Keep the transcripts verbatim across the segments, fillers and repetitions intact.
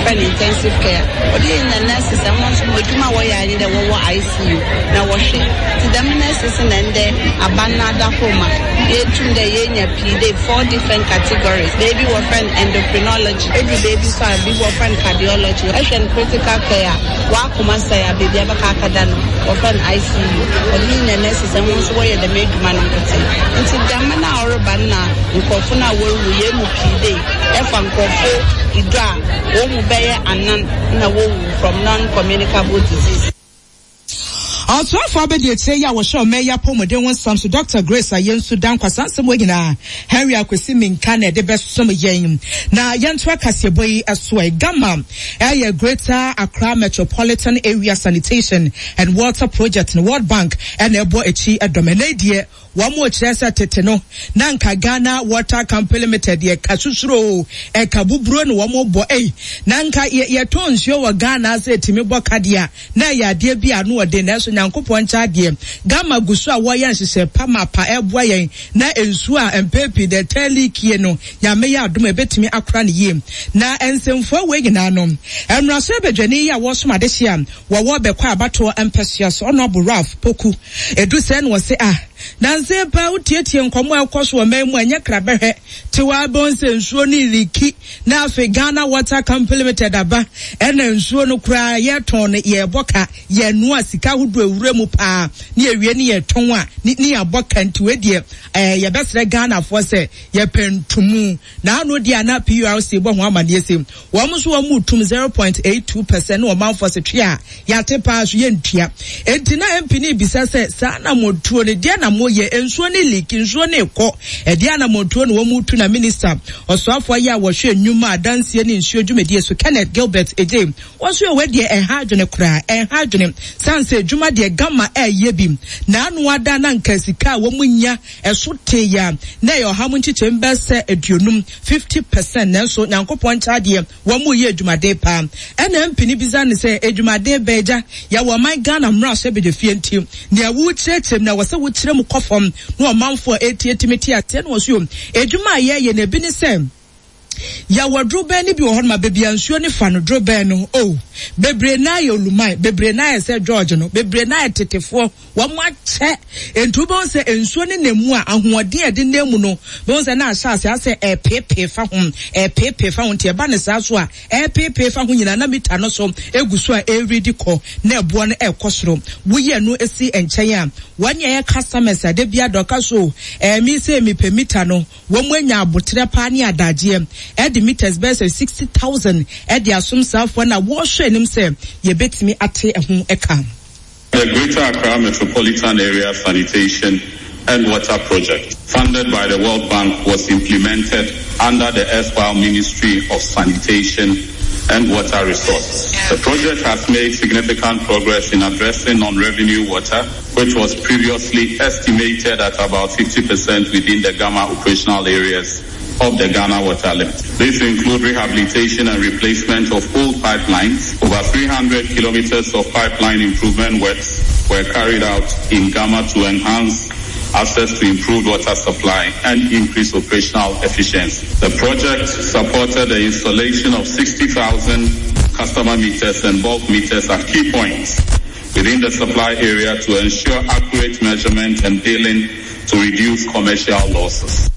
Wɔfrɛ no intensive care. Ɔde yɛnya nurses a wɔn nso wɔn adwuma a wɔyɛ ayɛ dɛ wɔwɔ I C U na wɔhwɛ. Nti dɛm nurses na ndɛ aban no adakoro ma yɛtum dɛ yɛnya pii dɛ four different categories. Beebi wɔfrɛ no endocrinology, edu beebi so a bi wɔfrɛ no cardiology. Ɛhwɛ no critical care a wakoma sɛe a beebi abɛka akada no wɔfrɛ no I C U. Ɔde yɛnya nurses a wɔn nso wɔyɛ dɛm adwuma no nkotsee. Nti dɛm na ɔreba no na nkurɔfo no a wɔrewu yɛn mu pii dɛ ɛfa nkurɔfo idu a wɔn mu bɛyɛ anan na wɔwu from non-communicable disease. Ɔsoafo abɛdi akyire yi a wɔhyɛ ɔman yi apɔmuden ho nsɛm so, Doctor Grace Ayensu Dankwa. Saa nsɛm wɔ nyinaa Henry Akwesi Minka na ɛde bɛsom yɛn na yɛnto akaseɛbɔ yi so. Ɛ GAMA ɛyɛ Greater Accra Metropolitan Area Sanitation and Water Project no, World Bank ɛna ɛbɔ akyi ɛdɔm. Ɛnɛ deɛ wɔn mo kyerɛ sɛ tete no na nka Ghana Water Company Limited yɛ ka susuro ɛka buburo na wɔn bɔ ɛyi na nka yɛ yɛtɔn nsuo wɔ Ghana ase etimi bɔ kadeɛ na ɛyɛ adeɛ bi a ano ɔden. Nanso Nyankopɔn nkyɛn adeɛ, GAMA gu so a wɔyɛ nhyehyɛ pamapa ɛboa yɛn na nsuo a mpɛɛpii dɛ tɛn leak no, Nyame yɛ adom a ebetumi akora ne yie. Na nsɛmfua wei nyinaa no, mmarahyɛ badwani yi a wɔsom adehye a wɔwɔ bɛkɔ abatoɔ mpɛsua so, Honourable Ralph Poku edu sɛ no wɔ se ah, nansi paa wotietie nkɔmɔ a ɛkɔ so wɔ man mu a ɛnyɛ krabɛhwɛ te wɔ abɛn sɛ nsuo no leak na afei Ghana Water Company Limited aba ɛna nsuo no koraa yɛtɔn no yɛbɔ ka, yɛnoa sika ahodoɔ ewura mu paa ne yɛwie ne yɛtɔn a ne ne yɛabɔ ka. Nti wei deɛ ɛɛ yɛbɛsrɛ Ghanafoɔ sɛ yɛpɛ ntumu na ano deɛ ana P U R C bɔ ho amaneɛ sɛ wɔn nso wɔn mu tum zero point eight two percent ne ɔmanfoɔ sɛ twe a yɛate paa so yɛntua. Enti na M P ne bisa sɛ saa anamotuo no deɛ na moyɛ, nsuo ne leak, nsuo ne kɔ, ɛdeɛ anamotuo na wɔn mu tu? Na minister ɔsoafoɔ yi a wɔhwɛ nnwuma adansie ne nsuo dwumadie so, Kenneth Gilbert Adjei, wɔn nso yɛ wɔ deɛ ɛha adwene koraa, ɛha adwene san sɛ adwuma deɛ GAMA ɛɛyɛ bi na ano ada na nka sika a wɔn nya ɛso te ya na ɛyɛ ɔha mu nkyekyɛm bɛsɛ aduonum, fifty percent. Nanso Nyankopɔn nkyɛn adeɛ, wɔn mu yɛ adwumaden paa. Ɛna M P bisa ne sɛ adwumaden bɛɛ gya yɛwɔ ɔman Ghana mmarahyɛ badwafie, nti nea wokyerɛkyerɛ mu na wɔ sɛ wokyerɛ mu kɔ fam na ɔmanfoɔ a etietimi te aseɛ. Na wɔ so adwuma a yɛyɛ na ebi ne sɛ yɛwɔ dorobɛn no bi wɔ hɔ noma beebi a nsuo ne fa no, dorobɛn no o bebree naa yɛ oluman, bebree naa yɛ sɛ George no, bebree naa yɛ tetefoɔ wɔn akyɛ. Nti wobɛhu sɛ nsuo ne nam mu a ahoɔden a ɛde nam mu no, bɛhu sɛ na ahyɛ ase asɛ ɛpeepee fa ho, ɛpeepee fa ho. Nti ɛba ne saa so a ɛpeepee fa ho nyinaa na mita no so egu so a ɛredi kɔ na ɛboɔ no ɛkɔ soro. Woyɛ no esi nkyɛn a wɔn a ɛyɛ customers a de bi adɔka so ɛmi sɛ mepɛ mita no, wɔn mu anya abotire paa ne adagyeɛ ɛde meters bɛyɛ sɛ sixty thousand ɛde asom saafoɔ na wɔrehwɛ anim sɛ yɛbɛtumi ate ɛho ɛka. The Greater Accra Metropolitan Area Sanitation and Water Project, funded by the World Bank, was implemented under the erstwhile Ministry of Sanitation and Water Resources. The project has made significant progress in addressing non-revenue water, which was previously estimated at about fifty percent within the GAMA operational areas of the Ghana Water Limited. This include rehabilitation and replacement of old pipelines. Over three hundred kilometers of pipeline improvement works were carried out in GAMA to enhance access to improved water supply and increase operational efficiency. The project supported the installation of sixty thousand customer meters and bulk meters at key points within the supply area to ensure accurate measurement and billing to reduce commercial losses.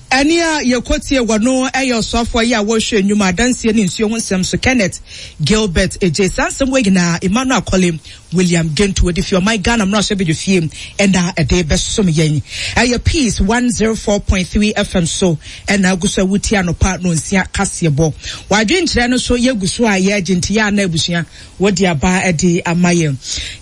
Ɛne a yɛkɔtie wɔ no ɛyɛ ɔsoafoɔ yi a wɔrehwɛ nnwuma adanseɛ ne nsuo ho nsɛm so, Kenneth Gilbert Adjei. Saa nsɛm wɔ nyinaa Emmanuel Akɔle William Gento wɔde fi ɔman Ghana mmarahyɛ badwa fie ɛna ɛde bɛsom yɛn. Ɛyɛ Peace one oh four point three F M so ɛna agu so a wotie anɔpa no nsia kaseɛbɔ. Wadwenkyerɛ no so yɛgu so a yɛagye nti yɛ ana abusua wɔde aba ɛde ama yɛn.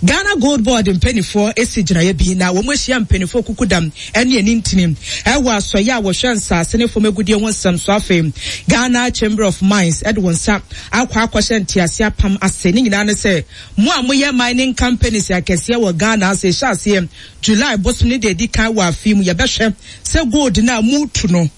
Ghana Gold Board mpanimfoɔ esi gyinaeɛ bi na wɔn ahyia mpanimfoɔ kukudam ɛne ani ntini ɛwɔ asɔyɛ a wɔhwɛ nsaase ne fam agudie ho nsɛm so. Afei Ghana Chamber of Mines ɛde wɔn nsa akɔ akɔhyɛ ntease apam ase. Ne nyinaa ne sɛ mo a moyɛ mining companies akɛseɛ wɔ Ghana ase, hyɛ aseɛ July bosom ne deɛ edi kan wɔ afi mu, yɛbɛhwɛ sɛ gold no a mutu no,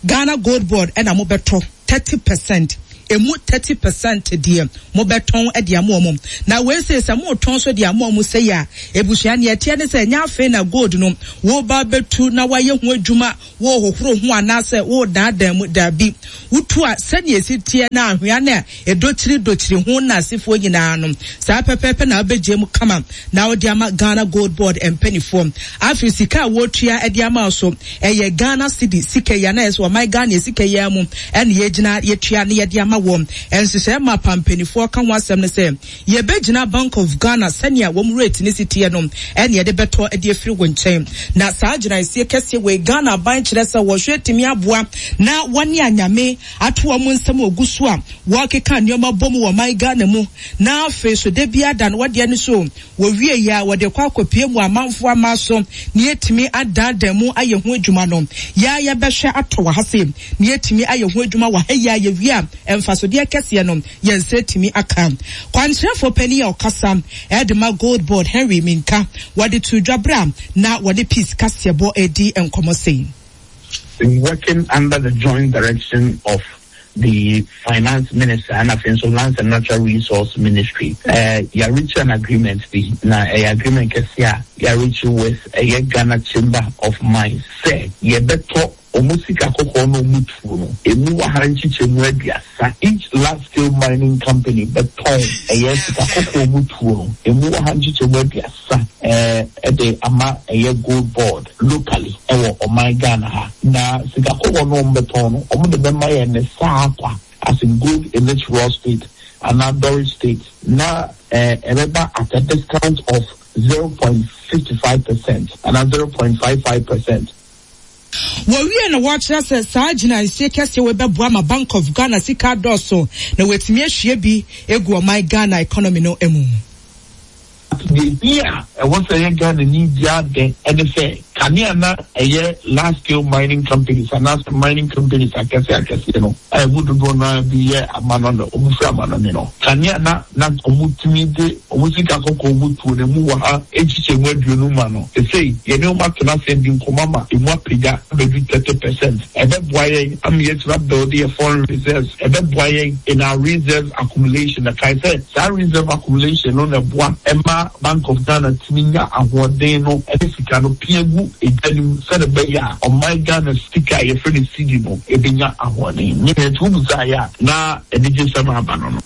Ghana Gold Board ɛna mobɛtɔ thirty percent. Emu thirty percent deɛ mobɛtɔn de ama wɔn. Na wei sei sɛ motɔn so de ama wɔn sɛi a, ebusua neɛ ɛteɛ ne sɛ ɛnyɛ afei na gold no woba bɛtu na wayɛ ho adwuma, wohohoro ho anaasɛ wodaadaa mu. Daabi, wotu a sɛnea esi teɛ na ahwea no a ɛdokyiri dokyiri ho na asefoɔ nyinaa no, saa pɛpɛɛpɛ na wobɛgye mu kama na wode ama Ghana Gold Board mpanimfoɔ. Afei sika a wɔtua de ama so ɛyɛ Ghana cedi sika yi anaa ɛsɛ ɔman Ghana sika yi mu ɛna yɛgyina yɛtua na yɛde ama wɔn. Nhyehyɛe ma pampanimfoɔ ka ho asɛm no sɛ yɛbɛgyina Bank of Ghana sɛnea wɔn rate ne si teɛ no ɛna yɛde bɛtɔ de afiri wɔn nkyɛn. Na saa gyinaesie kɛseɛ wɔ Ghana aban kyerɛ sɛ wɔhwɛ tumi aboa na wɔne anyame ato wɔn nsɛm ogu so a wɔkeka nneɛma bɔ mu wɔ man Ghana mu. Na afei so de bia da no wɔdeɛ no so wɔwie yi a wɔde kɔ akɔpie mu amanfoɔ ama so na yɛtumi adaadaa mu ayɛ ho adwuma no. Yɛa yɛbɛhwɛ atɔ wɔ ha se na yɛtumi ayɛ ho adwuma wɔ ha yi a yɛwie a mfasodeɛ kɛseɛ no yɛn nsa tumi aka. Kwankyerɛfoɔ panin a ɔkasa ɛde ma Gold Board Henry Minka wɔde to dwa bra na wɔde Peace kaseɛbɔ edi nkɔmmɔ sei. Working under the joint direction of the Finance Minister and also Lands and Natural Resource Ministry, uh, you reach an agreement. Na a agreement kɛseɛ a reach with a Ghana Chamber of Mines. Sɛ yɛbɛtɔ ɔmo sika kɔkɔɔ no ɔmo tuo no emu wɔ ha nkyekyɛmu aduasa. Each large scale mining company bɛtɔn ɛyɛ sika kɔkɔɔ ɔmo tuo no emu wɔ ha nkyekyɛmu aduasa ɛɛ ɛde ama ɛyɛ Gold Board locally ɛwɔ ɔman Ghana ha. Na sika kɔkɔɔ no ɔmo bɛtɔn no, ɔmo de bɛma yɛn ne saa akwa as in gold in its raw state anaa doré state, na ɛɛ ɛbɛba at a discount of zero point fifty five percent anaa zero point five five percent. Wɔwie na wɔkyerɛ sɛ saa gyinaesie kɛseɛ wɔ bɛboa ma Bank of Ghana sika dɔɔso na wɔatumi ahwie bi egu ɔman Ghana economy no mu. Deɛ a ɛwɔ sɛ ɛyɛ Ghana ni biara dɛ ɛne sɛ kanea na ɛyɛ large scale mining companies anaasɛ mining companies akɛseɛ akɛseɛ no a ɛmu dodoɔ naa bi yɛ amanɔne, ɔmo firi amanɔne no, kanea na na ɔmo tumi de ɔmo sika kɔkɔɔ ɔmo tuo no emu wɔ ha ekyikyɛ mu aduonu ma no, esei yɛne ɔmo atena ase di nkɔmɔ ama emu apagya abɛdu thirty percent. Ɛbɛboa yɛn ama yɛtumi abuild yɛ foreign reserves, ɛbɛboa yɛn in our reserve accumulation. Na kae sɛ saa reserve accumulation no na ɛboa ɛma Bank of Ghana tumi nya ahoɔden no ɛne sika no pia gu edwa no mu sɛde bɛyɛ a ɔman Ghana sika a yɛfrɛ no cedi no ebenya ahoɔden. Ne nea etu busa yɛ a na anigye sɛm aba no no.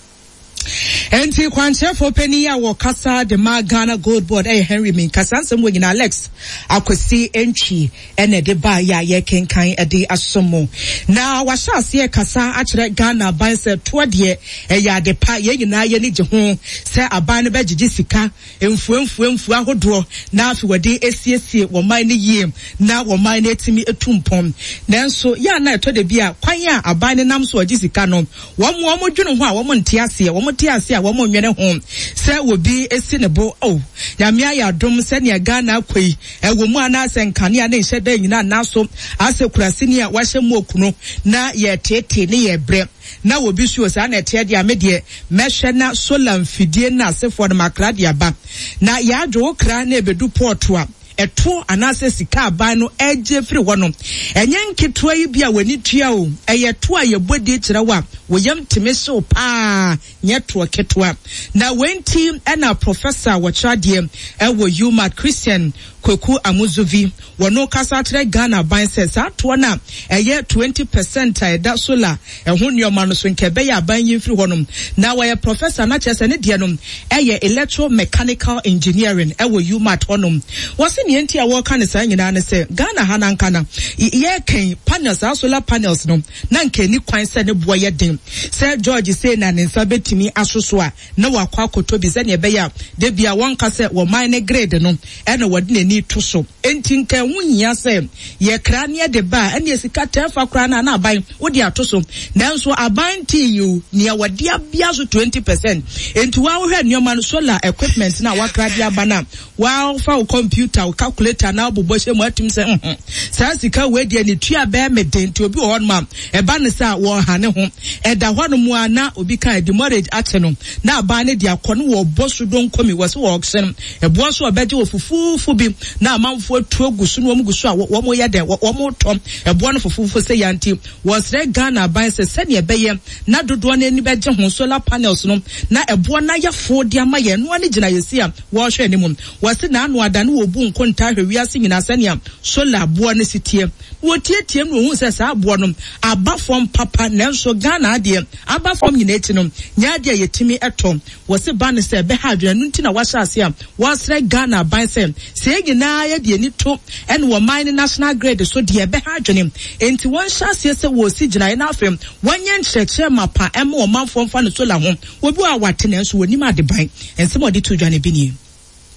Enti kwankyerɛfoɔ panin a wɔkasa de ma Ghana Gold Board ɛyɛ Henry Minka. Saa nsɛm wɔ nyinaa Alex Akwasi Ntwi ɛna ɛde baa yɛ a yɛkenkan ɛde asom mu. Na wahyɛ aseɛ kasa akyerɛ Ghana aban sɛ toɔ deɛ ɛyɛ ade pa, yɛn nyinaa yɛni gye ho sɛ aban no bɛgyegye sika mfuamfuamfua ahodoɔ na afei wɔde esiesie wɔn man no yie na wɔn man no etimi etu mpɔn. Nanso yɛ a na ɛtɔ de bi a kwan a aban no nam so ɔgye sika no, wɔn wɔn dwene ho a wɔn nte aseɛ, wɔn te aseɛ a wɔn nwene ho sɛ obi esi ne bo o Nyame ayɛ adom sɛnea Ghana akɔ yi ɛwɔ mu anaasɛ nkanea ne nhyɛ da nyinaa naso asɛ kurasini a wahyɛ mu okunu na yɛtete ne yɛ brɛ na obi so saa na ɛteɛ deɛ ame deɛ mɛhwɛ na solar mfidie na asefoɔ no makra de aba na yɛadwo wo kra na ebedu port a ɛto anaasɛ sika aban no ɛgye firi hɔ no ɛnyɛ nketewa yi bi a w'ani tua o, ɛyɛ to a yɛbɔ di kyerɛ wo a wɔyam tumi hyew paa, nyɛ toɔ ketewa. Na wei nti ɛna professor a wɔkyerɛ adeɛ ɛwɔ UMaT, Christian Kwaku Amuzuvi, wɔno kasa kyerɛ Ghana aban sɛ saa toɔ no a ɛyɛ twenty percent a ɛda solar ɛho nneɛma no so nka ɛbɛyɛ aban yi mfiri hɔnom. Na wɔyɛ professor na kyerɛ sɛ ne deɛ no ɛyɛ electromechanical engineering ɛwɔ UMaT hɔnom. Wɔsi nea nti a wɔreka ne saa nyinaa ne sɛ Ghana ha nanka na yɛkɛn panels, saa solar panels no, na nka ani kwan sɛ ne boɔ yɛ den sɛ George sei na ne nsa bɛtumi asoso a na wakɔ akɔtɔ bi sɛnea ɛbɛyɛ a debi a wɔnka sɛ wɔman ne grid no ɛna wɔde n'ani to so. Enti nka ɛho hia sɛ yɛkra ne yɛde ba a ɛne sika tɛɛfa koraa na na aban wode ato so, nanso aban tii yi nea wɔde abia so twenty percent. Enti wɔahwɛ nneɛma no, solar equipment na wakra de aba no a wɔafa wo computer wo calculator na abobɔ hyɛ mu atum sɛ mhm saa sika wei deɛ ne tua bɛɛ me den. Nti obi wɔ hɔnom a ɛba ne sɛ a wɔha ne ho ɛda hɔnom a na obi ka demurrage akyɛ no na aban ne de akɔ no wɔbɔ so donkomi wɔ sɛ wɔɔhyɛ no ɛboɔ so ɔbɛgye wɔ fufuufu bi na amanfoɔ atu agu so na wɔn gu so a wɔn yɛ dɛ wɔn tɔ ɛboɔ no fufuufu sɛ yanti. Wɔsrɛ Ghana aban sɛ sɛnea ɛbɛyɛ na dodoɔ no ani bɛgye ho solar panels no na ɛboɔ no ayɛ fo de ama yɛn noa ne gyina yɛsi a wɔrehwɛ anim. Wɔse n'ano ada ne wɔbu nkonta ahwɛ wiase nyinaa sɛnea solar boɔ no si teɛ. Wɔtietie mu na wɔhu sɛ saa boɔ no aba fam papa, nanso Ghana adeɛ aba fam nyinaa akyi no nyɛ adeɛ a yɛtumi ɛtɔ. Wɔse ba no sɛ ɛbɛha adwene no nti na wahyɛ ase a wɔsrɛ Ghana aban sɛ sɛ yɛn nyinaa yɛde ani to ɛne wɔman ne national grid so deɛ ɛbɛha adwene. Enti wɔnhyɛ aseɛ sɛ wɔsi gyinaeɛ no afei wɔnyɛ nkyerɛkyerɛ mapa ɛma ɔmanfoɔ mfa no solar ho. Obi a wate nanso wɔnim adeban. Nsɛm a ɔde to dwa no bi nie.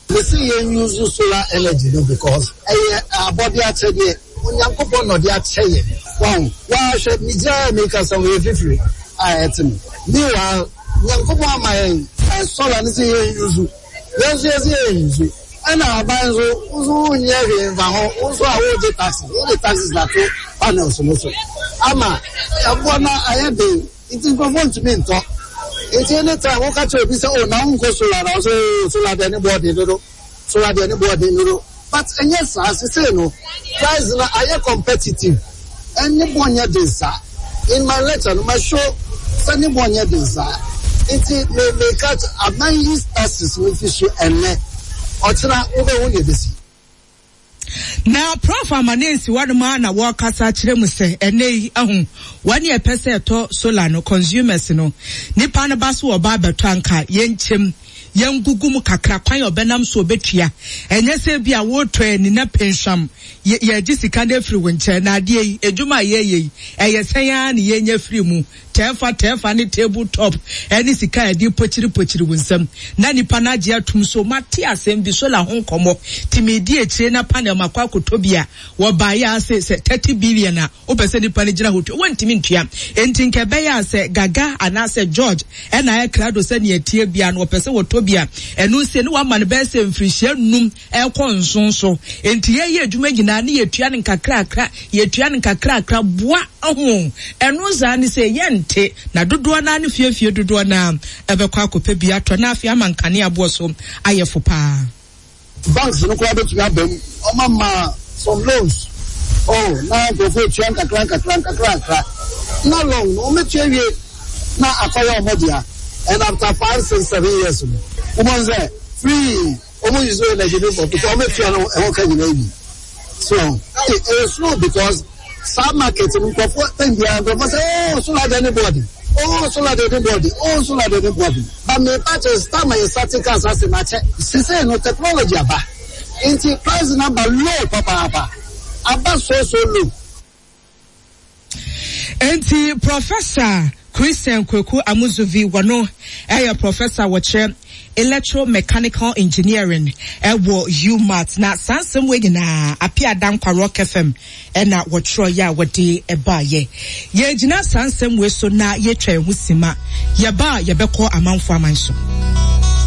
Mese yɛn use solar energy no because ɛyɛ abɔde akyɛdeɛ Onyankopɔn na ɔde akyɛ yɛn. Wahu wahwɛ megyina meka sɛ wɔyɛ fifiri a ɛte mu. Meanwhile Nyankopɔn ama yɛn solar no sɛ yɛn use yɛn nso yɛsɛ yɛn use ɛna aban nso nso wonyɛ hwee mfa ho nso a wogye taxes wogye taxes na to panels no so ama ɛboɔ no ayɛ den nti nkurɔfoɔ ntumi ntɔ. Nti anytime woka kyerɛ obi sɛ oh na wonkɔ solar na ɔsɛ oh solar deɛ ne boɔ den dodo solar deɛ ne boɔ den dodo but ɛnyɛ saa sesei no price no ayɛ competitive ɛne boɔ nyɛ den saa. In my lecture no ma show sɛ ne boɔ nyɛ den saa nti me me ka aban yi taxes no fi so ɛnɛ ɔkyena wobɛhu deɛ bɛsi. Na Prof Amane nsi hɔnom a na wɔrekasa kyerɛ mu sɛ ɛnɛ yi ahu wɔne ɛpɛ sɛ ɛtɔ solar no consumers no nipa no ba so ɔba abɛtɔ anka yɛnkyɛm yɛngugu mu kakra kwan a ɔbɛnam so ɔbɛtua ɛnyɛ sɛ bi a wɔretɔ ani na penhwam yɛgye sika no afiri wo nkyɛn na adeɛ yi adwuma a yɛyɛ yi ɛyɛ sɛn ara ne yɛnya firi mu tɛɛfa tɛɛfa ne table top ɛne sika a yɛde pokyiri pokyiri wo nsam na nipa no agye atum so mate asɛm bi solar ho nkɔmmɔ timi di akyire na panel makɔ akɔtɔ bi a wɔbaeɛ ase sɛ thirty billion a wopɛ sɛ nipa no gyina hɔ tua wɔntumi ntua. Enti nka ɛbɛyɛ a sɛ Gaga anaasɛ George ɛna ayɛ krado sɛ nea tie bia no wɔpɛ sɛ wɔtɔ bi a ɛno nsie ne wama no bɛyɛ sɛ mfirihyia num ɛkɔ nson so. Enti yɛyɛ adwuma nyinaa ne yɛtua no nkakrakra yɛtua no nkakrakra boa ho ɛno saa ne sɛ yɛnte na dodoɔ naa ne fiefie dodoɔ naa ɛbɛkɔ akɔpɛ bi atɔ na afei ama nkanea boɔ so ayɛ fo paa. Banks no koraa bɛtumi aba mu ɔma ma some loans oh na nkurɔfoɔ tua nkakra nkakra nkakra nkakra na long no wɔmɛtua wie na akɔyɛ ɔmo dea and after five six seven years no wɔn sɛ free wɔn use energy no for because wɔmɛtua no ɛho ka nyinaa bi so ɛyɛ slow because saa market no nkurɔfoɔ tɛn biara nkurɔfoɔ sɛ oh solar deɛ ne bɔɔdi oh solar deɛ ne bɔɔdi oh solar deɛ ne bɔɔdi but me pa kyerɛ star ma yɛ starting cars ase na kyɛ sisei no technology aba nti price number low papaapa aba so so low. Enti Professor Christian Kweku Amuzuvi wano ɛyɛ professor wɔkyerɛ electromechanical engineering ɛwɔ UMaT na saa nsɛm wei nyinaa Apia Dankwa Rock F M ɛna wɔtwerɛ yɛ a wɔde ɛbaayɛ. Yɛgyina saa nsɛm wei so na yɛtwa ɛho sima yɛba a yɛbɛkɔ amanfo aman so.